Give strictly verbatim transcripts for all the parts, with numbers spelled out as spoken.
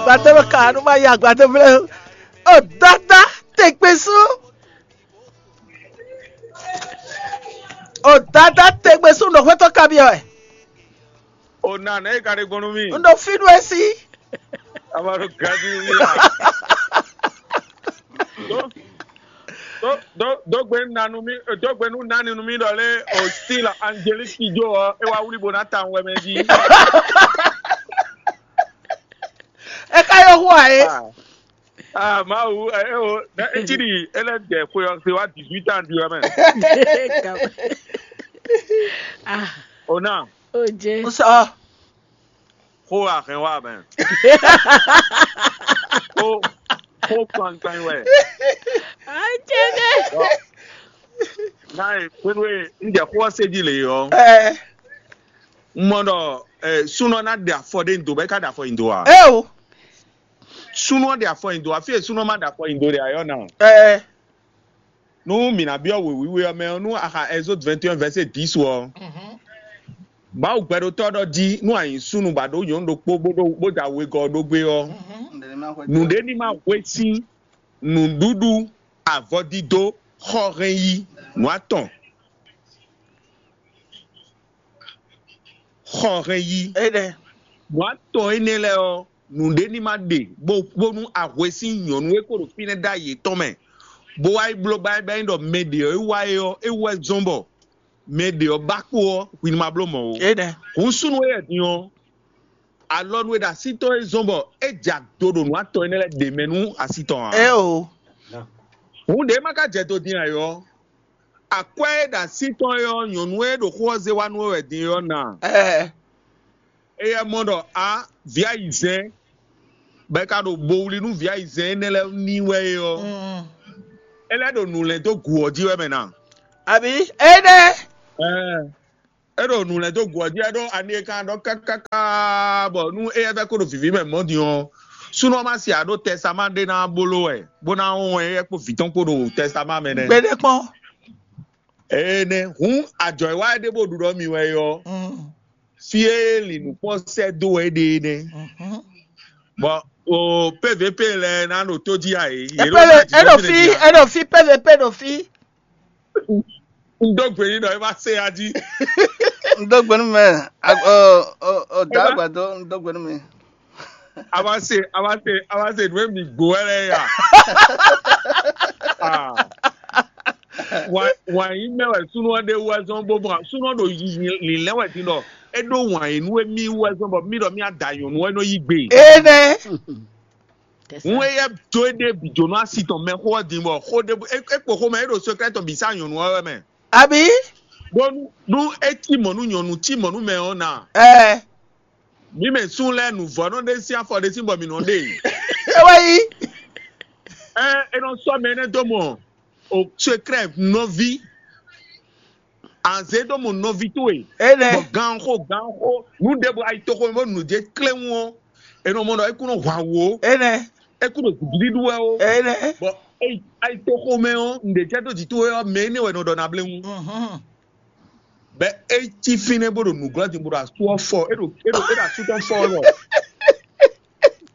Gbadé ɖo ka nu ma yi agbadé vlé. O dada tegbe sú. O dada tegbe sú nɔ hwetɔ kabiɔ wɛ. O na nɛ e ka ɖe gbɔn nú mì. Un ɖo fí nú esi. Aba ɖo gadi nú mì la. Do do do do gbe nú nanu mì do gbe nú nani nú mì ɖɔ lé o si la Angelique Kidjo ɔ e wa wuli bo na ta wɛ mɛ jí. E ka yɔ hu a ye. Ah Mawu ɛ o ne etsi ɖi ele dɛ xwe ɔ se wa dix-huit ans du ɔ mɛ. Ah, O na oje. N sɔ. xó ahɛn wa mɛ. Xó xó kpankpan wɛ. Oje ne. N'a ye kpéɖo e n jɛ xó ɔ se jí le ɔ. Ɛ N mɔ ɖɔ ɛ súnɔ ná ɖe afɔ ɖe ndo bɛ ká ɖe afɔ yi ndo a. ɛ o. Súnɔ ɖe afɔ yi ndo afi e súnɔ ma ɖe afɔ yi ndo ɖe ayɔ na. Ɛ Nú mǐ ná byɔ́ wěwíwé ɔ́ mɛ ɔ́, nú axa Exode vingt et un verset dix ɔ́, Mawu gbɛɖotɔ́ ɖɔ jí nú a nyǐ súnnu bɔ a ɖǒ nyɔ̌nu ɖokpó bó ɖó bó da wegɔ́ ɖó gbé ɔ́, nǔɖé ní ma hwe sín nǔɖuɖu, avɔdídó, xɔhɛn yí, nǔ atɔn. Xɔhɛn yí. Enɛ. Nǔ atɔn énɛ́ lɛ́ɛ ɔ́, nǔɖé ní ma ɖe bó bónú ahwe sín nyɔ̌nu e ko ɖo fínɛ́ ɖ'ayǐ yětɔn mɛ, bó wá yi bló bá bá nyí ɖɔ mɛ ɖě ɔ́ e wá é ɔ́, é wú wɛ zɔ́n bɔ mɛ ɖě ɔ́ ba kpo ɔ́, hwi ní ma bló mɔ̌ ó. Enɛ. Hǔn súnnu éyɛ́ din ɔ́, alɔnu e ɖo así tɔn é zɔ́n bɔ é jɛ ado ɖo nǔ atɔn énɛ́ lɛ́ɛ ɖě mɛ nú así tɔn ǎ. Ɛ o. Hǔn ɖě ma ka jɛ do din ayɔ. Akwɛ́ e ɖo así tɔn é ɔ́, nyɔ̌nu e ɖo xó ɔ́ zé wá nú we wɛ din é ɔ́ na. Ɛ Éyɛ́ mɔ ɖɔ a vǐ ayizɛ́n bɔ é ka ɖo bo wlí nú vǐ ayizɛ́n énɛ́ lɛ́ɛ ní wɛ é ɔ́, mm, é lɛ́ ɖo nǔ lɛ́n dó gu ɔ́ jí wɛ mɛ na. Abi enɛ. Ɛɛ, é ɖo nǔ lɛ́n dó gu ɔ́ jí wɛ ɖó ani e kan ɖɔ kákáká bɔ nú éyɛ́ vɛ́ kó ɖo vǐví mɛ mɔ̌ din ɔ́, súnɔ ma si aɖó tɛsáma ɖé ná bló wɛ bó ná wɔn éyɛ́ kpó vǐ tɔn kpó ɖo tɛsáma mɛ nɛ́. Gbeɖé kpɔn. Énɛ́ hǔn ajɔ e wá é ɖé bó ɖu ɖɔ mi wɛ é ɔ́, Mm, fí e lǐnǔkpɔ́ sɛ́ dó wɛ é ɖe é nɛ́. mhm. Bɔn o P V P lɛ́ɛ ná ɖo tó jí ayé. Epele eɖo fi eɖo fi P V P ɖo fi. Un dó gbe nyi ɖɔ é ma se ya jí. N dó gbe nú mɛ. Ag- Ɔ ɔ ɔ da agbadɔ n dó gbe nú mi. A ma se a ma se a ma se nǔ e mi gbó wɛ lɛ ya. Ah. Wǎn wǎn yí mɛ wɛ súnú ɔ́ ɖe wú wɛ zɔn bó bɔn súnú ɔ́ ɖo lǐlɛ́ wɛ din ɖɔ é ɖó wǎn yí nú émí wú wɛ zɔn bɔ mí ɖɔ mí ada nyɔ̌nu wɛ nɔ yí gbe. Enɛ. Ŋu éyɛ́ dó é ɖe bǐ jónú asi tɔn mɛ xó ɔ́ din bɔ xó ɖé é é kpo xó mɛ é ɖo secret tɔn bǐ sá nyɔ̌nu ɔ́ wɛ mɛ. Abi. Bónú nú é cí mɔ̌ nú nyɔ̌nu cí mɔ̌ nú mɛ ɔ́ na. Ɛ Mǐ mɛ sún lɛ́ɛ nǔvɔ́nɔ ɖé sín afɔ ɖé sín bɔ mǐ nɔ ɖe. Ewé yí. Ɛ é nɔ sɔ́ mɛ énɛ́ dó mɔ o secret nɔví. Anzé ɖó mɔ nɔví towe. Enɛ. Bɔ ganxo ganxo nǔ ɖěbǔ ayitoxo bó nǔ jɛ kléwún ɔ́, è nɔ mɔ ɖɔ é kún nɔ hwa wò ó, Enɛ. é kún ɖo gǔgíɖíɖú wɛ ó. Enɛ. Bɔ é ayitoxo mɛ ɔ́, nǔɖé jɛ dó jǐ towe ɔ́, mɛ énɛ́ wɛ nɔ ɖɔ na blé wú. Mhm. Bɛ é cí fínɛ́ bó ɖo nǔglɔ́ din bó ɖo asú ɔ́ fɔ, é ɖo é ɖo é ɖo asú tɔn fɔ ɔ́ lɔ.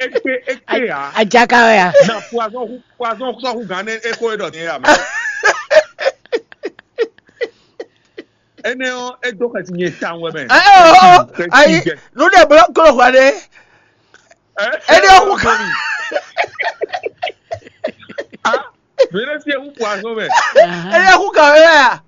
É kpé é kpé ǎ. Ajaka wɛ ya. Na poison hu poison sɔ́ hu gǎn nɛ́ é xó é ɖɔ ní yà mɛ. Énɛ́ ɔ́, é dó xɛsi nyɛ tawun wɛ mɛ. Ɛ ɔ ayi nu ɖe blɔ klo hwa ɖe. Énɛ́ ɔ́ hu gǎn. Mɛ ɖé sí ewu poison mɛ. Énɛ́ hu gǎn wɛ ya.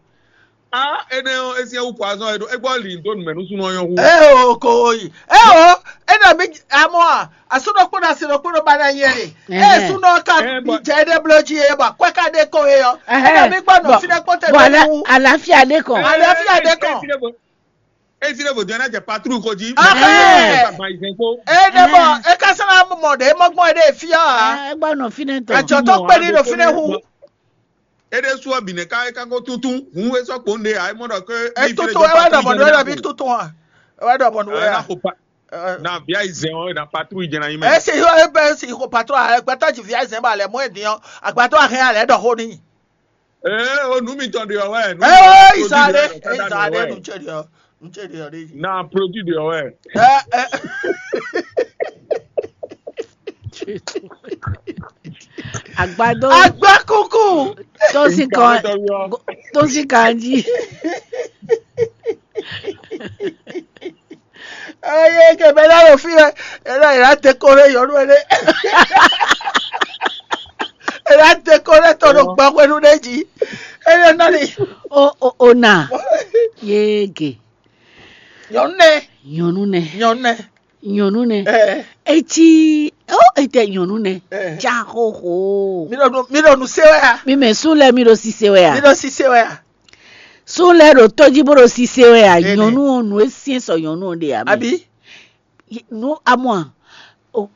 Ah, énɛ́ ɔ́, é sí ewu poison é ɖo é gbɔ li dó numɛ nú súnú ɔ́ nyɔ́ hu. Ɛ o ko yi. Ɛ o. Énɛ́ mi amɔ a. Asúnɔ kpɔ́n asi nɔ kpɔ́n ba na nyɛ ni. Ɛ súnɔ ka Ɛ, mi bɔ- jɛ ɖe blɔ jí e ba kɔɛ ka ɖe ko e yɔ. Énɛ́ mi gbɔ nɔ fi ɖe kpɔ́n tɛ Bɔn lɔ wu. Àlàáfíà dé kàn. Àlàáfíà dé kàn. Esi ɖe vodun ɛna jɛ patru ko ji. Ahɛn. Gbagba yi zɛn ko. Ene bɔ eka sɛnɛ mɔ ɖe mɔ gbɔn ɖe fia. Ẹ gbọ́ nọ fínɛ tɔ. Adzɔtɔ kpe ni ɖo fínɛ hu. Ede su ɔbinɛ ka eka ko tuntun hun esɔ kpo ne ayi mɔ dɔ ke. Etutu ewa dɔ mɔ ɖo ɛna bi tutu wa. Ewa dɔ mɔ ɖo Ɛna ya. ko pa na via yi zɛn o na patru yi jɛna yi mɛ. Esi yɔ ebe si ko patro a gbata ji via zɛn ba lɛ mɔ edi yɔ agbata a hɛn alɛ dɔ ho ni. Ee o nu mi tɔn de ɔwɛ. Ee isa de isa de nu tse de yɔ nu tse de yɔ de yi. Na produit de ɔwɛ. Ɛ ɛ. Agbadó. Agbákúkú. Tó sì kàn, tó sì kàn jí. Eye ke bɛ na ɖo fí wɛ, ena ena te ko ɖe yɔnu ɛnɛ. Ena te ko ɖe tɔ ɖo gbɔxwenu ɖe jí. Eye nɔ ni. O o o na. Yege. Nyɔnu nɛ. Nyɔnu nɛ. Nyɔnu nɛ. Nyɔnu nɛ. Ɛ. Etsi o ete nyɔnu nɛ. Ɛ. Tsa xoxo. Mi ɖo nu mi ɖo nu se wɛ ya. Mi mɛ su lɛ mi ɖo sise wɛ ya. Mi ɖo sise wɛ ya. Sun lɛ́ɛ ɖo tó jí bó ɖo sise wɛ a? Nyɔ̌nu ɔ́, nǔ e syɛ́n sɔ nyɔ̌nu ɔ́ ɖe ǎ mɛ. Abǐ? Nǔ amɔ a?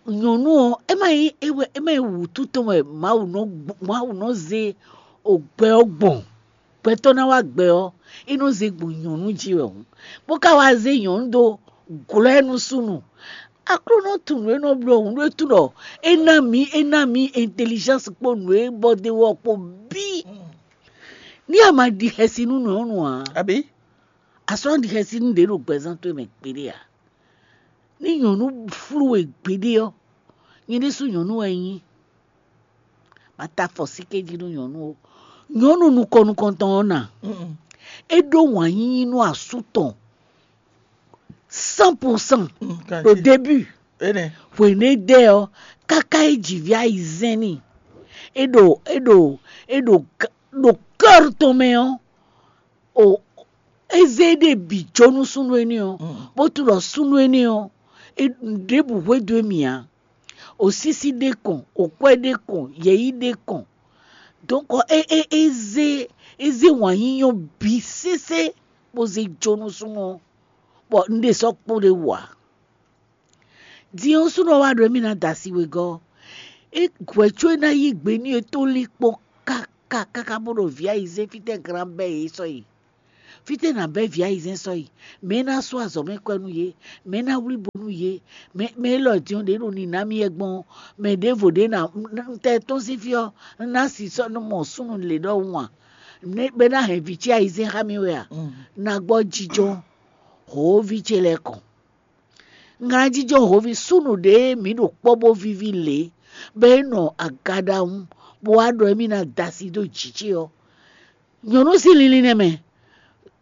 Nyɔ̌nu ɔ́, é má nyí é wɛ é má nyí wǔtu tɔn wɛ Mawu nɔ Mawu nɔ zé gbɛ ɔ́ gbɔn. Gbɛtɔ́ ná wá gbɛ ɔ́, é nɔ zé gbɔn nyɔ̌nu jí wɛ hǔn, bó ka wá zé nyɔ̌nu dó glɔ́ ɛ nú súnnu. Aklúnɔ tunwun e nɔ bló hǔn ɖó e tunwun ɖɔ é ná mǐ é ná mǐ intelligence kpó nǔ e bɔ d'é wú ɔ́ kpó bǐ. Ní a ma ɖi xɛsi nú nyɔ̌nu ǎ, abǐ? A sɔ́ ɖi xɛsi nú ɖě ɖo gbɛzán towe mɛ gbeɖé ǎ. Ní nyɔ̌nu flú we gbeɖé ɔ́, nyɛ ɖésú nyɔ̌nu wɛ nyí. Ma ta afɔ síké jí nú nyɔ̌nu ó. Nyɔ̌nu nukɔn nukɔntɔn ɔ́ na. É ɖó wǎn yíyí nú asú tɔn cent pour cent ɖo début. Hwenu e dɛ ɔ́, káká é ji vǐ ayizɛ́n n'i. É ɖo é ɖo é ɖo ɖo kɔ́r tɔn mɛ ɔ́, o é zé ɖé bǐ jó nú súnnu énɛ́ ɔ́, bó tunwun ɖɔ súnnu énɛ́ ɔ́, é ɖěbǔ hwedó émì ǎ. Osísí ɖé kɔn, okwɛ́ ɖé kɔn, yɛ̌yi ɖé kɔn. Donc é é é zé é zé wǎn yíyɔ́ bǐ sésé bó zé jó nú súnnu ɔ́, bɔ un ɖe sɔ́ kpó ɖé wú ǎ. Din ɔ́, súnnu ɔ́ wá ɖɔ émí ná da asi wegɔ́. É hwɛ̌ có é ná yí gbe n'i é tó lín kpɔ́n káká káká bó ɖo vǐ ayizɛ́n fítɛ́ glán bɛ́ yě sɔ́ yi. Fítɛ́ nǎ bɛ́ vǐ ayizɛ́n sɔ́ yi? Mɛ̌ ná sú azɔ̌ mɛ kwɛ́ nú yě? Mɛ̌ ná wlí bo nú yě? Mɛ mɛ élɔ́ din ɔ́ ɖě ɖo nǐ ná mì wɛ gbɔn ɔ́, mɛ ɖěvo ɖě ná tɛ tɔ́n sín fí ɔ́, ná si sɔ́ nú mɔ súnnu lě ɖɔhun a? Bɔ é ná hɛn vǐ ce ayizɛ́n xá mì wɛ a? Ná gbɔ jijɔ hǒví ce lɛ́ɛ kɔn. Ŋlajijɔ hǒví súnnu ɖě mǐ ɖo kpɔ́ bó víví lě, bɔ é nɔ aga ɖawún, bó wá ɖɔ émí ná da asi dó jǐ ce ɔ́, nyɔ̌nu sín linlin nɛ́ mɛ.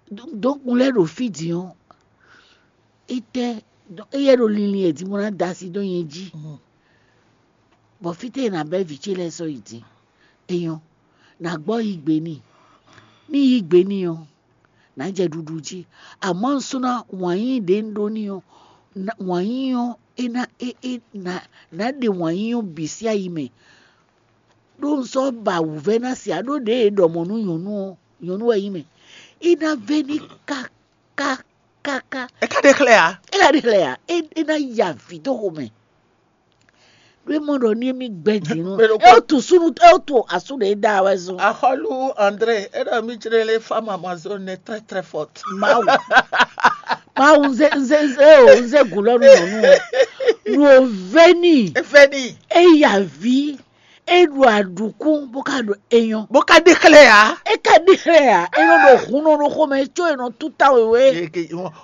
Dɔ̌nkun lɛ́ɛ ɖo fí din ɔ́, étɛ́ éyɛ́ ɖo linlin wɛ din bó ná da asi dó nyɛ jí? Bɔ fítɛ́ è nǎ bɛ́ vǐ ce lɛ́ɛ sɔ́ yi din? É nyɔ́, nǎ gbɔ yí gbe n'i. Ní yí gbe n'i ɔ́, nǎ jɛ ɖuɖu jí. Amɔ̌ un sɔ́ ná wǎn yíyí ɖě un ɖó n'i ɔ́, wǎn yíyí ɔ́ é ná é é nǎ nǎ ɖe wǎn yíyí ɔ́ bǐ sín ayi mɛ. Ɖó un sɔ́ ba wǔvɛ́ ná se ǎ, ɖó ɖěe è ɖɔ mɔ̌ nú nyɔ̌nu ɔ́, nyɔ̌nu wɛ nyí mɛ. É ná vɛ́ n'i káká káká. É ka ɖe xlɛ́ ǎ. É ka ɖe xlɛ́ ǎ. É é ná yi avǐ dó xomɛ. Ɖó é mɔ ɖɔ ní émí gbɛ́ din nú é wó tu súnnu é wó tu asú ɖě da wɛ zɔn. Axɔ́lú André, é ɖɔ mí jlé lé femme amazone est très très forte. Mawu. Mawu, nze nze nze o nze gulɔ nu nɔ nu o. Nu o veni. Eveni. Eya vi. E ɖo aɖukún bó ka ɖo eyɔn. Bó ka ɖe xlɛ́ ya. E ka ɖe xlɛ́ ya. E nɔ ɖo hun nɔ ɖo xomɛ tso e nɔ tuta wewe.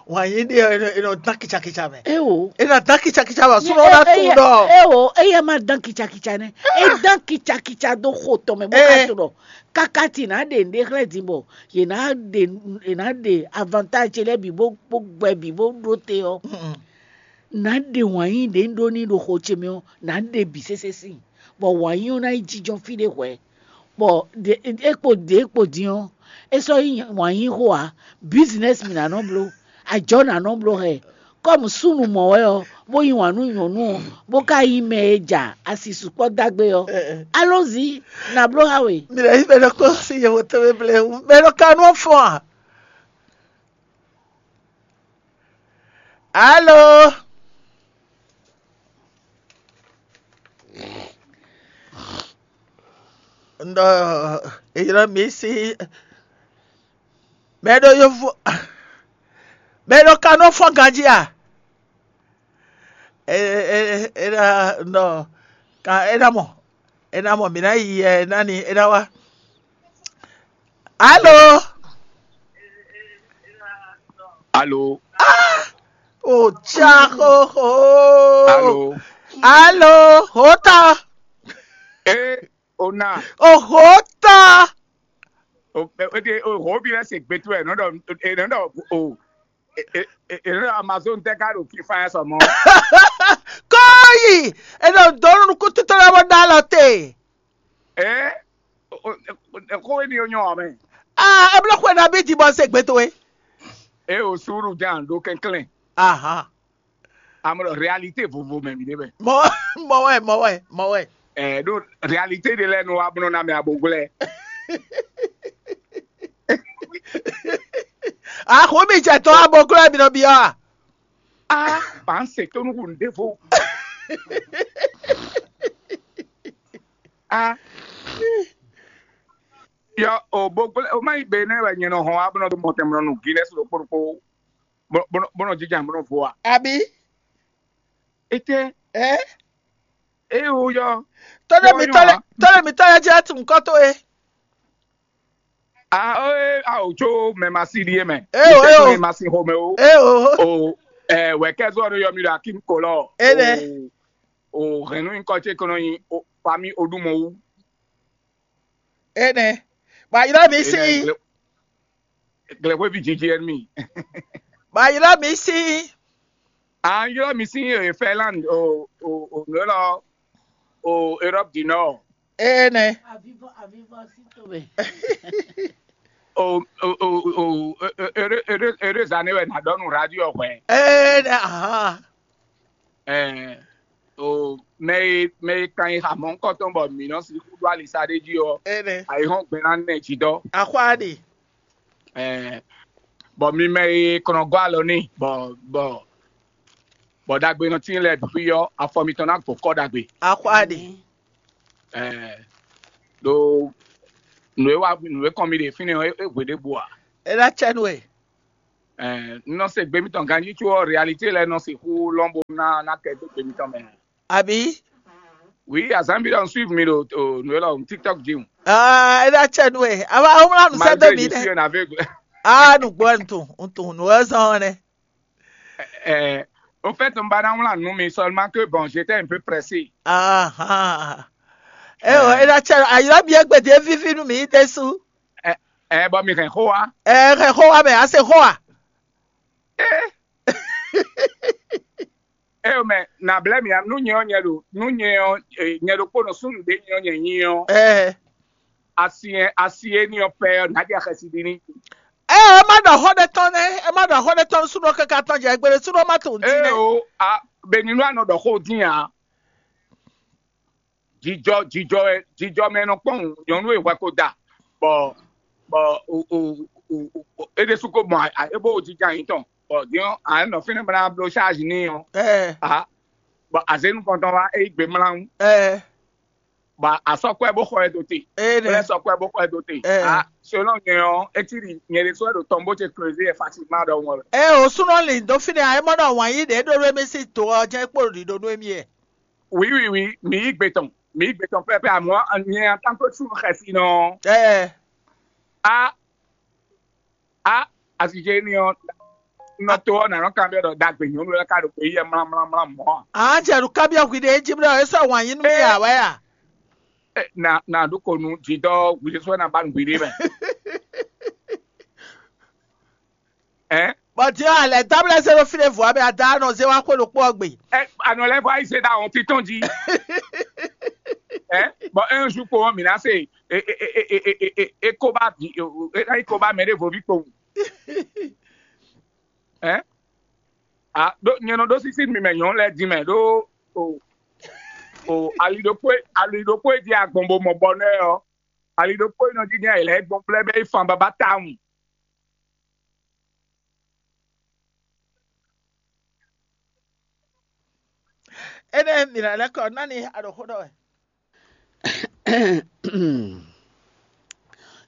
Wǎn yí ɖe e nɔ dán kitsakitsa mɛ. Ewo. E nɔ dán kitsakitsa mɛ. Súnɔ na tu ɖɔ. Ewo, eya ma dán kitsakitsa nɛ. E dán kitsakitsa do xo tɔn mɛ bó ka tu ɖɔ. Kaka ti na ɖe nɖe xlɛ́ din bɔ yě na ɖe yě na ɖe avantage lɛ́ɛ bǐ bó bó gbɛ bǐ bó ɖó te ɔ́. Na ɖe wǎn yí ɖě un ɖó n'i ɖo xo ce mɛ ɔ́, na ɖe bǐ sésé síin, bɔ wǎn yí ɔ́ ná yi jínjɔ́n fí ɖé hwɛ̌. Bɔ é kpo ɖě kpo din ɔ́, é sɔ́ nyí wǎn yí xó ǎ. Business mì ná nɔ bló, ajɔ̌ ná nɔ bló hɛ. Kɔ́mu súnnu mɔ̌ wɛ ɔ́, bó yí wǎn nú nyɔ̌nu ɔ́, bó ka nyí mɛ e ja asi sukpɔ́ dó agbe ɔ́, alɔ́zi ná bló xá we. Mi lɛ́ yí mɛ ɖokpó sín yɛhweto mɛ blɛ́ wú, mɛ ɖo ka nú ɔ́ fɔ́n a? Alo. Ndo eyɔ́ mi sí mɛ ɖo yovo mɛ ɖo kanɔ fɔ́n ganjí a? Ena nɔ kan ena mɔ ena mɔ mǐ ná yi ɛ ná ni ena wá. Alo. Alo. Ah! O tsa xoxo. Alo. Alo, hota. Ee, o na. O hota. O o de o hɔ bi lɛ se gbe to ɛ nɔ dɔ e nɔ dɔ o e e e nɔ dɔ Amazon tɛ ka ɖo kifa yɛ sɔmɔ. Kɔyi. E ɖo donu kutu tɔ lɛ bɔ da lɔ te. Ee, o o ko e ni o nyɔ mɛ. Ah, e blɔ xwe na bi di bɔ se gbe to e. E o suru jan ɖo kɛnklɛn. Aha. Amɔ réalité vovo mɛ mi ɖe mɛ. Mɔ mɔ wɛ mɔ wɛ mɔ wɛ. Ɛ ɖo réalité de lɛ nu wa blɔ na mɛ aboglɛ. Axɔ mi jɛ tɔ aboglɛ mi nɔ bi ɔ. Ah, ba n se to nuku n devo. Ah. Yɔ o boglɛ o ma yi be ne wɛ nyɛ nɔ hɔn wa blɔ do mɔtɛmlɔ nu Guinness ɖo kpɔɖokpɔ. Bɔnɔ jija bɔnɔ vo wa. Abi. Ete. Ɛ. Eye wo yɔ. Tɔlɛ mi tɔlɛ tɔlɛ mi tɔlɛ jɛ tun kɔtɔ ye. Ah, eh, ah, o tso mɛ ma si ɖie mɛ. Eh, o, eh, o. Mɛ ma si xomɛ o. E o. O ɛ wɛ kɛzɔ ɖo yɔ mi ɖo akim kolɔ. E nɛ. O o hɛnnu nyikɔ ce kɔnɔ nyi o fami o ɖu mɔ wu. E nɛ. Ba ylɔ mi si. Glɛkwe vi jiji ɛn mi. Ba ylɔ mi si. Ah, ylɔ mi si e Finland o o o nɔ lɔ o Europe du Nord. E nɛ. Avivɔ avivɔ si to mɛ. O o o o ere ere ere zane wɛ na dɔ nu radio hwɛ. E nɛ ahan. Ɛɛ o mɛ e mɛ e kan yi hamɔ ŋkɔtɔn bɔ mi nɔ si kudu alisa ɖe jí ɔ. E nɛ. Ayi hɔn gbɛna nɛ jí dɔ. Axwa ɖe. Ɛɛ bɔ mi mɛ e kɔnɔ gɔ alɔ ni bɔ bɔ bɔ dagbe nɔ tin lɛ ɖu fi yɔ afɔ mitɔn na gbɔ kɔ dagbe. Axwa ɖe. Ɛɛ ɖo nu e wa nu e kɔn mi ɖe fínɛ́ ɔ e hwe ɖe bu a. E la cɛ nu e. Ɛɛ n nɔ se gbe mitɔn ganji tso ɔ réalité lɛ nɔ se xu lɔn bo na na kɛ dó gbe mitɔn mɛ. Abi. Oui, azan bi dɔ n suivre mi ɖo o nu e lɔ tiktok dzi o. Ah, e la cɛ nu e. Ava o mla nu sɛ do mi Malgré je suis nɛ. Un aveugle. Ah, nu gbɔ n tun n tun nu e zɔn nɛ. Euh, au fait, on va dans la nous, mais seulement que bon, j'étais un peu pressé. Aha. E o e la cɛ ayɔ mi egbe de vivi nu mi de su. Eh, bon, mi hɛn xó wa. E hɛn xó wa mɛ a se xó wa. Eh, eh, mais na blɛ mi nu nyɛ ɔ nyɛ ɖo nu nyɛ ɔ eh, nyɛ ɖokpo nɔ sunu ɖe nyɛ ɔ nyɛ nyi ɔ Ɛ asi yɛ asi yɛ ni ɔ pɛ ɔ na di axɛsi di ni. Ɛ ɛ ma ɖɔ xɔ ɖe tɔn nɛ, ɛ ma ɖɔ xɔ ɖe tɔn sunɔ kaka tɔn jɛ gbele sunɔ ma to ŋdi Eh nɛ. o a beni nu anɔ ɖɔ xó din a. Jijɔ jijɔ ɛ jijɔ mɛ nɔ kpɔn nyɔnu e hwɛ ko da bɔ bɔ o o o o e ɖe su ko mɔ a e bo jija yin tɔn bɔ diɔ a nɔ fínɛ bla blo charge ni o Ɛ a bɔ azenu kɔntɔn wa e gbe mla ŋu ɛ bɔ asɔkɔɛ bo xɔ ɛ do te ɛ kple nɛ. sɔkɔɛ bo xɔ ɛ do te Eh. a selon nyɛ ɔ etiri nyɛ de sɔ ɖo tɔn bo te creuse ɛ facilement ɖɔ ŋɔ. Ɛ o sunɔ li do fi nɛ a ɛ mɔ ɖɔ wɔn yi ɖe ɖo ɖo emi si to ɔ jɛ kpo ɖi ɖo ɖo emi yɛ. Oui, oui, oui, mi yi gbe tɔn mi yi gbe tɔn pɛpɛ amɔ nyɛ en tant que sunu xɛsi nɔ Ɛ a a asije ni ɔ nɔ to ɔ nanɔ kan bɛ ɖɔ dagbe nyɔnu lɛ ka ɖo gbe yi yɛ mlamlamla mɔ a. An jɛ ɖo kabiɔ hwi ɖe edzi bla esa wɔn yi nu mi ya wɛ ya. Eh, na na ɖo ko nu jidɔ wuli sɔ na ba nu gbiɖe mɛ. Ɛ Bɔn diɔ alɛ dabla se ɖo fi ɖe vɔ abɛ ada nɔ ze wa xwe ɖo kpɔ gbe. ɛ anɔ lɛ fɔ ayi se da wɔn titɔn ji. Ɛ bɔn un jour ko mi na se e e e e e e e e ko ba vi e e ko ba mɛ ɖe vo vi kpowun. Ɛ a ɖo nyɛ nɔ ɖo sisi mi mɛ nyɔnu lɛ di mɛ ɖo o o ali ɖokpó ali ɖokpó e di agbɔn bo mɔ bɔ nɛ ɔ ali ɖokpó e nɔ di nyɛ lɛ gbɔn kplɛ bɛ yi fan baba tawun. Enɛ mi na lɛ kɔ nani aɖo xó ɖɔ wɛ.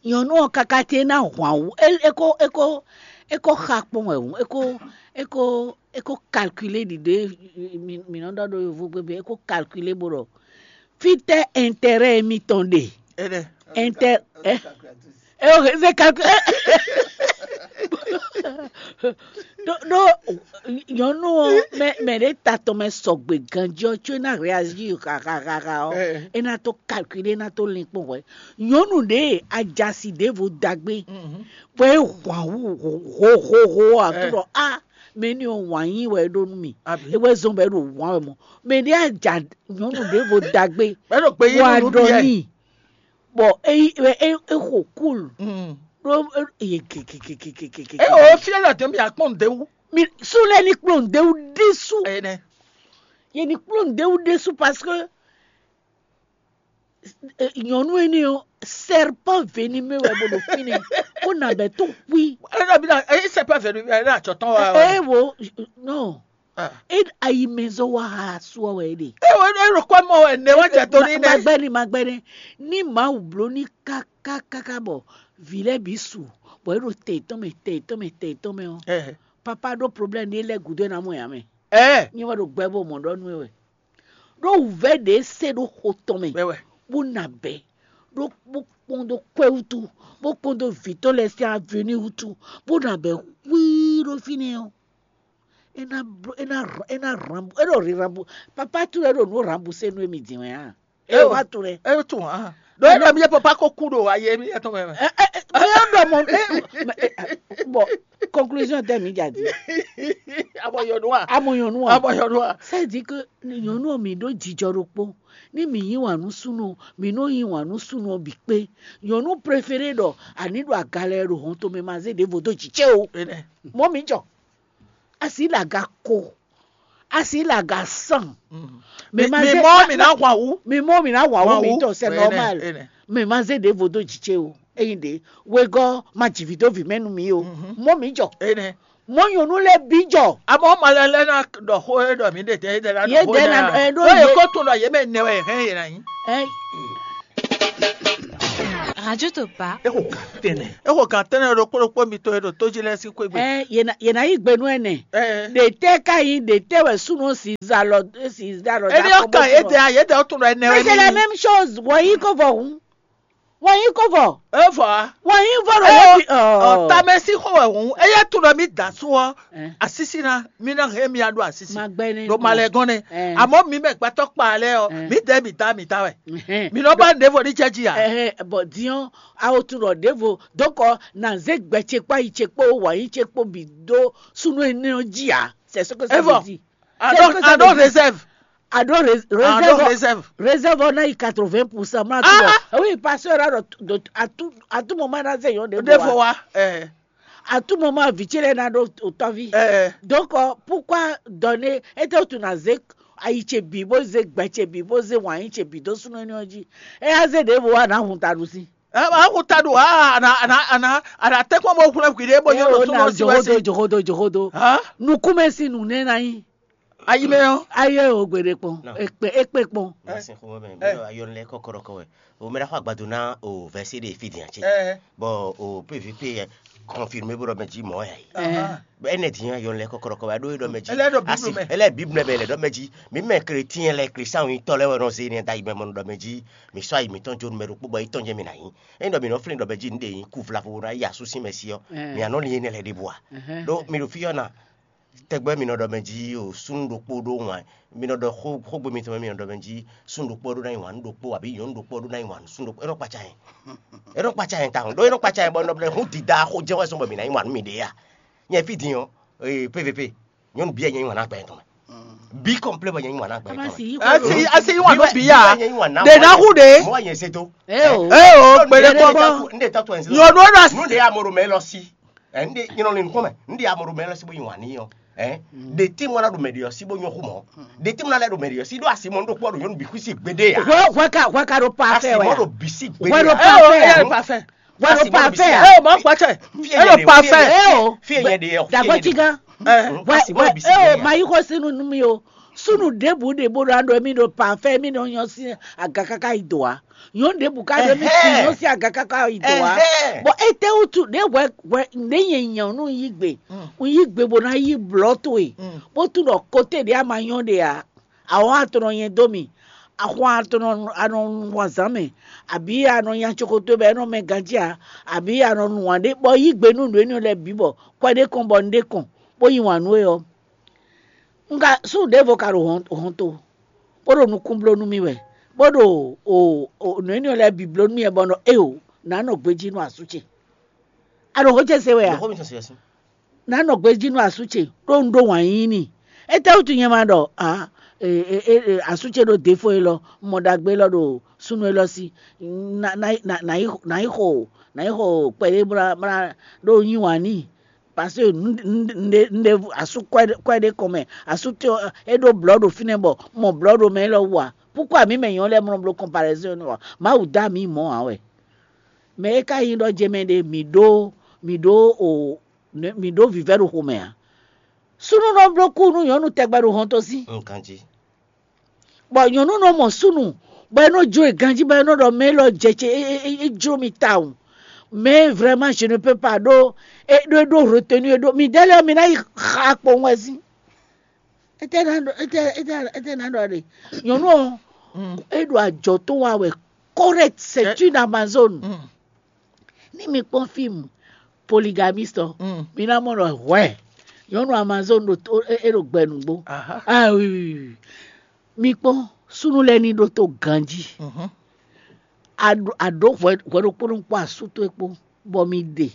Nyɔnu ɔ kaka te na hwan wu e e ko e ko e ko xa kpɔn wɛ wu e ko e ko e ko calculer ɖiɖe mi mi nɔ ɖɔ ɖo yovo gbe be e ko calculer bo ɖɔ fitɛ intérêt mitɔn ɖe Enɛ. Inter eh eh ok c'est calculer Ɖó ɖó nyɔ̌nu ɔ́, mɛ mɛ ɖě ta tɔn mɛ sɔgbe ganjí ɔ́, có é ná réazír hahahaha ɔ́, é ná tó kalkulé, é ná tó linkpɔ́n hwɛ̌. Nyɔ̌nu ɖě ajasi ɖěvo dagbé, bɔ é hwan wú hohoho ɔ́, a tó ɖɔ á mɛ ní ɔ́ wǎn yí wɛ é ɖó nú mì. É wɛ zɔ́n bɔ é ɖo wǎn wɛ mɔ̌. Mɛ ɖě aja nyɔ̌nu ɖěvo dagbé, Bɔ é ɖo gbe yí wá nú nú ɖɔ Piyɛ́ɛ. N'i, bɔ é é é xo kúl. Ɖó é gegegegegegege. É o fia la dɛm ya kpɔn de wu. Mi su lɛ ni kplɔn de wu ɖésú. Ene. Ye ni kplɔn de wu ɖésú parce que nyɔ̌nu énɛ́ ɔ́, serpent venimeux wɛ bó ɖo fínɛ́, bó ná bɛ́ tó xwí. É na bi na é serpent venimeux é na tsɔ tɔn wa. É wo non. É ayi mɛ zɔ́ wá ha asú ɔ́ wɛ é ɖe. É wo é ɖo kɔ́ mɔ wɛ nɛ wá jɛ tó ní nɛ. Magbɛ́ni magbɛ́ni ní Mawu bló ní kákákáká bɔ vǐ lɛ́ɛ bǐ su, bɔ é ɖo tɛ yětɔn mɛ tɛ yětɔn mɛ tɛ yětɔn mɛ ɔ́, papa ɖó problème ní é lɛ́ gǔdo é ná mɔ yǎ mɛ. Ɛ Nyɛ wɛ ɖo gbɛ bó mɔ ɖɔ nú é wɛ. Ɖó wǔvɛ́ ɖě se ɖó xo tɔn mɛ, wɛ wɛ. Bó na bɛ́, ɖó bó kpɔ́n dó kwɛ́ wútu, bó kpɔ́n dó vǐ tɔn lɛ́ɛ sín avenue wútu, bó na bɛ́ xwíí ɖó fínɛ́ ɔ́, é ná bló é ná é ná rambu é ɖo ri rambu. Papa towe ɖo nǔ rambu se nú émi din wɛ a? É wá tunwun ɛ. É tunwun hã. Ɖó é ɖɔ mi yɛ papa ko kú ɖo ayi émi yɛ tɔn mɛ mɛ. Ɛ ɛ ɛ mɛ yɔ ɖɔ mɔ ɛ ɛ bɔn conclusion tɛ mi dza di. Abɔ yɔnu a. Amɔ yɔnu a. Abɔ yɔnu a. C'est-à-dire que nyɔnu ɔ mi ɖó jijɔ ɖokpó. Ní mi yí wǎn nú súnú ɔ, mi nɔ yí wǎn nú súnú ɔ bǐ kpé. Nyɔnu préféré ɖɔ àní ɖo aga lɛ ɖo hɔn tomɛ ma zé ɖěvo dó jǐ cé o. Mɔ mi jɔ. Asi le aga ko. Asi le aga san. Mi ma mi zé mɔ ma- mi na hwan wu. Mi mɔ mi na hwan wu Hwan mi wu. Tɔ c'est Ene, normal. Ene. Mi ma zé ɖěvo dó jǐ cé o. Eyin ɖe wegɔ́ ma jǐ vǐ dó vǐ mɛ nú mi o. Mɔ mi jɔ. Ene. Mɔ nyɔnu lɛ bi jɔ. Amɔ ma lɛ lɛ na ɖɔ xó e ɖɔ mi ɖe tɛ e ɖe la Ye ɖɔ xó ɖe ɖe na na ɛ ɖo ɖo ye ye- ko tun ɖɔ ye mɛ nɛ wɛ hɛn ye na nyi. Ɛ Radio Topa. Exo gan tɛnɛ. Exo gan tɛnɛ ɖokpó ɖokpó mi to e ɖo tójí lɛ sí xwé gbe. Ɛ yena yena yi gbe nú ɛnɛ. Ɛ Ɖe tɛ ka yi ɖe tɛ wɛ súnú si za lɔ si za lɔ Eni ɔ́ kan yédè a yédè ɔ́ tún ɖɔ ɛnɛ Mais wɛ c'est la mi. Même chose. Wɔ yi ko vɔ hun. Wɔ yi ko vɔ. E vɔ a. Wɔ yi vɔ ɖo Ɛ yɛ bi. Ɔ tamɛ sí xɔ wɛ hun. Eye tún ɖɔ mi da sú ɔ. Ɛ. Asísí na mi na hɛn mi aɖo asísí. Ma gbɛ ne. Ɖo ma lɛ gɔn ne. Ɛ. Amɔ mi mɛ gbɛtɔ kpa lɛ ɔ. Ɛ. Mi dɛ mi da mi da wɛ. Ɛhɛn. Mi nɔ ba ɖevo ní jɛ ji a. Ɛhɛn, bɔ diɔn awo tún ɖɔ ɖevo dɔkɔ na zé gbɛ ce kpó ayi ce kpó wɔ yi ce kpó bi dó súnú énɛ́ ɔ́ jí a. C'est ce que ça Evɔ. Veut dire. C'est ce que ça Ado veut dire. Réserve. Ado ré- Ado réserve. Réserve. Réserve ɔ́ ná yi quatre-vingts pour cent. Má Ah, tún bɔ. Oui, pasteur a ɖɔ à tout à tout moment ná zé yɔn ɖe Ɖe bɔ fɔ wa. Wa. Ɛ. À tout moment vǐ ce lɛ́ɛ ná ɖó òtɔ́ví. Ɛ. Donc euh, pourquoi donner? Ete wotu na zé ayi ce bǐ bó zé gbɛ ce bǐ bó zé wǎn yi ce bǐ dó súnɔ énɛ́ ɔ́ jí. É á zé ɖěvo wá nǎ hun taɖu sí. Ɛ, a xo ta ɖo a ana ana ana ana tɛkpɔn bɔ xlɛ gwiɖe bɔ nyɔ ɖo súnɔ si wɛ Johodo si. Johodo johodo. Hã? Nukúnmɛ sín nǔ nɛ́ ná nyí. Ayi mɛ ɔ́. Ayé o gbeɖe kpɔn. Non. Ekpe ekpe kpɔn. Ɛ. Sin xo mɛ Ɛ. Mɛ ayɔn lɛ kɔkɔrɔ kɔ wɛ. O mɛ ɖa xɔ agbado na o vɛsi de fi dian ce. Ɛ. Bɔ o P V P yɛ confirmé bó ɖɔ mɛ jí mɔ ya yi. Aha. Bɛ ɛnɛ dian ayɔn lɛ kɔkɔrɔ kɔ wɛ ɖo ɖɔ mɛ jí. Ɛlɛ ɖɔ Bible mɛ. Ɛlɛ Bible mɛ lɛ ɖɔ mɛ jí. Mi mɛ chrétien lɛ Christian yi tɔ lɛ wɛ nɔ zé ne da yi mɛ mɔ ɖɔ mɛ jí. Mi sɔ ayi mitɔn jo nu mɛ ɖokpó bɔ yi tɔn jɛ mi na yi. Eyin ɖɔ mi nɔ flin ɖɔ mɛ jí nu ɖe yi ku vlavo na yi asu sin mɛ si ɔ. Ɛ. Mi anɔ li enɛ lɛ ɖe bua. Ɛhɛn. Ɖo mi ɖo fi ɔ́ na. Tɛgbɛ mi nɔ ɖɔ mɛ jí o súnnu ɖokpó ɖó wǎn mi nɔ ɖɔ xó xógbe mitɔn mɛ mi nɔ ɖɔ mɛ jí súnnu ɖokpó ɖó ná nyi wǎn nú ɖokpó abǐ nyɔ̌nu ɖokpó ɖó ná nyi wǎn nú súnnu ɖokpó é nɔ kpatsa yɛn é nɔ kpatsa yɛn tawun ɖó é nɔ kpatsa yɛn bɔ nɔ blɛ hún dida xó jɛ́n wɛ zɔn bɔ mi ná nyi wǎn nú mi ɖě a nyɛ fí din ɔ́ ee P V P nyɔ̌nu bíyɛ nyɛ nyi wǎn ná gbɛ tɔn mɛ bí kɔ̀mplé bɔ nyɛ nyi wǎn ná gbɛ tɔn mɛ Asi yi asi asi yi wà ló bí yá. Ɖe ná hu ɖe. Mɔ nyɛ se tó. Ee o. Ee o gbɛɖe kpɔkpɔ. N de tɔ to ɛn si. Nyɔnu ɖo asi. Nu de amoro mɛ lɔ si. Ɛ n de nyɔnu le nukun mɛ n de amoro mɛ lɔ si bo yi wani yɔ. Ɛ de ti mɔ na do mɛ de yɔ si bo nyɔ xu mɔ. De ti mɔ na lɛ do mɛ de yɔ si do asi mɔ n do kpɔ do nyɔnu bi xu si gbede ya. Hwɛ hwɛ ka hwɛ ka ɖo pa Asi fɛ mɔ wɛ. Do bi si gbede Hwɛ ɖo ya. Pa Ee o fɛ. Eya ɖo pa fɛ. Wɛ ɖo Asi mɔ do bi si pafɛ. Gbede ya. Ee o ma kpɔtsɛ. Fi Eɖo yɛ de, pafɛ. Fi yɛ de. Ee o. Fi yɛ de yɔ. Dagbɔ tsi gã. Ɛ. Wɛ Asi mɔ wɛ do bi si ee o gbede ya. Ma yi xɔ sinu nu mi o. Sunu ɖěbǔ ɖě bó ɖo aɖɔ mì ɖo pafɛ mì nɔ nyɔ sín aga káká yi dǒ a. Nyɔ̌nu ɖěbǔ ká ɖo mì ti Ɛhɛn. Nyɔ sín aga káká yi dǒ a. Ɛhɛn. Bɔ étɛ́ wútu ɖě hwɛ hwɛ ɖě nyɛ nyɔ̌nu yí gbe. Mm. Un yí gbe bó ná yí blɔ̌ towe. Mm. Bó tunɔ kote ɖě a ma nyɔ́ ɖe a. Awɔn a tunɔ nyɛ dó mì. Axwan tɔn nɔ a nɔ nu wazán mɛ, abǐ a nɔ nya cokoto bɔ é nɔ mɛ ganjí ǎ, abǐ a nɔ nu wǎn ɖé bɔ yí gbe nú nǔ énɛ́ lɛ́ɛ bǐ bɔ kwɛ ɖé kɔn bɔ un ɖé kɔn bó yí wǎn nú we ɔ́. Un ka súnnu ɖěvo ka ɖo hɔnto, bó ɖo nukún bló nú mì wɛ, bó ɖo nǔ énɛ́ lɛ́ɛ bǐ bló nú mì wɛ bɔ nɔ éyo nǎ nɔ gbejí nú asú ce. A ɖo xó ce se wɛ a? Nǎ nɔ gbejí nú asú ce ɖó un ɖó wǎn yíyí n'i. Étɛ́wútu nyɛ ma ɖɔ asú ce ɖo défo élɔ́, mɔ ɖagbe élɔ́ ɖo súnnu élɔ́ sí? Nǎ yi xo nǎ yi xo kpɛɖé bó ná ɖó yí wǎn n'i. Parce que un ɖe asú kwɛ ɖé kɔn mɛ, asú ce é ɖó blɔ̌ ɖo fínɛ́ bɔ mɔ blɔ̌ ɖo mɛ élɔ́ wú ǎ. Púkwa mǐ mɛ nyɔ̌nu lɛ́ɛ mlɔ bló kɔnpalɛzɔ́n ɔ́, Mawu dó amǐ mɔ̌ ǎ wɛ. Mɛ e ka nyí ɖɔ jɛ mɛ ɖe mǐ ɖó mǐ ɖó o mǐ ɖó vǐvɛ́ ɖo xomɛ ǎ. Súnnu nɔ bló kú nú nyɔ̌nu tɛgbɛ ɖo hɔnto sí. Bɔ nyɔ̌nu nɔ mɔ súnnu bɔ é nɔ jó e ganjí bɔ é nɔ ɖɔ mɛ élɔ́ jɛ ce é jló mi tawun. Mais vraiment je ne peux pas ɖó é ɖó é ɖó retenu é ɖó mi dɛ́ lɛ́ɛ mi ná yi xa kpowun wɛ sín. Étɛ́ ná ɖɔ étɛ́ étɛ́ étɛ́ ná ɖɔ ɖe nyɔ̌nu ɔ́ é ɖo ajɔ tó wa wɛ. Correct, c'est une Amazone. Ní mi kpɔ́n fíìmù polygamiste ɔ́, mi ná mɔ ɖɔ hwɛ nyɔ̌nu Amazone ɖo tó é ɖo gbɛ nǔgbó. Ah oui oui oui. Mi kpɔ́n súnnu lɛ́ɛ ní ɖótó ganjí. A ɖó hwɛ ɖokpó ɖokpó asú towe kpó bɔ mi ɖe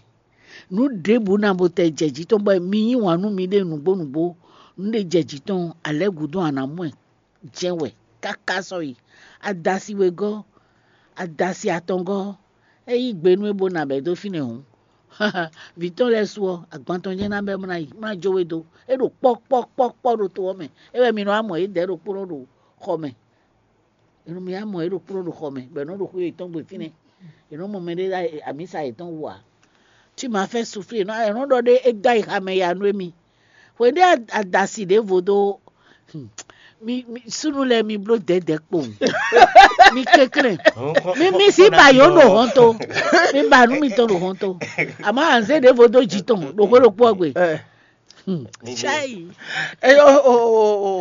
nǔ ɖěbǔ ná bo tɛ jɛ jǐ tɔn bɔ mi yí wǎn nú miɖée nǔgbó nǔgbó. Nǔ ɖé jɛ jǐ tɔn alɛ̌ gǔdo a nǎ mɔ ɛ jɛ́n wɛ káká sɔ́yi. Adasi wegɔ́, adasi atɔngɔ́, é yí gbe nú é bó ná bɛ̌ dó fínɛ́ hǔn. Vǐ tɔn lɛ́ɛ su ɔ́, agban tɔn jɛ́n ná bɛ́ bó ná yi, bó ná jó we dó. É ɖo kpɔ́ kpɔ́ kpɔ́ kpɔ́ ɖo to ɔ́ mɛ. É wɛ mi nɔ wá mɔ yědɛɛ ɖokpónɔ ɖo xɔ mɛ. È nɔ mi wá mɔ yě ɖokpónɔ ɖo xɔ mɛ, bɔ è nɔ ɖo xwé yětɔn gbe fínɛ́. È nɔ mɔ mɛɖé ɖo amǐsa yětɔn wú ǎ. Tí ma fɛ́ suflí è nɔ è nɔ ɖɔ ɖé é dó ayixa mɛ ya nú émi. Hweɖé adasi ɖěvo dó mi súnnu lɛ́ɛ mi bló dɛ̌dɛ̌ kpowun. Mi kɛnklɛ́n. Mi mi sí ba yǒ ɖo hɔnto. Mi ba nǔ mitɔn ɖo hɔnto. Àmọ́ anzé ɖěvo dó jǐ tɔn ɖo xwé ɖokpó ɔ́ gbe. Chai. Eyo o o o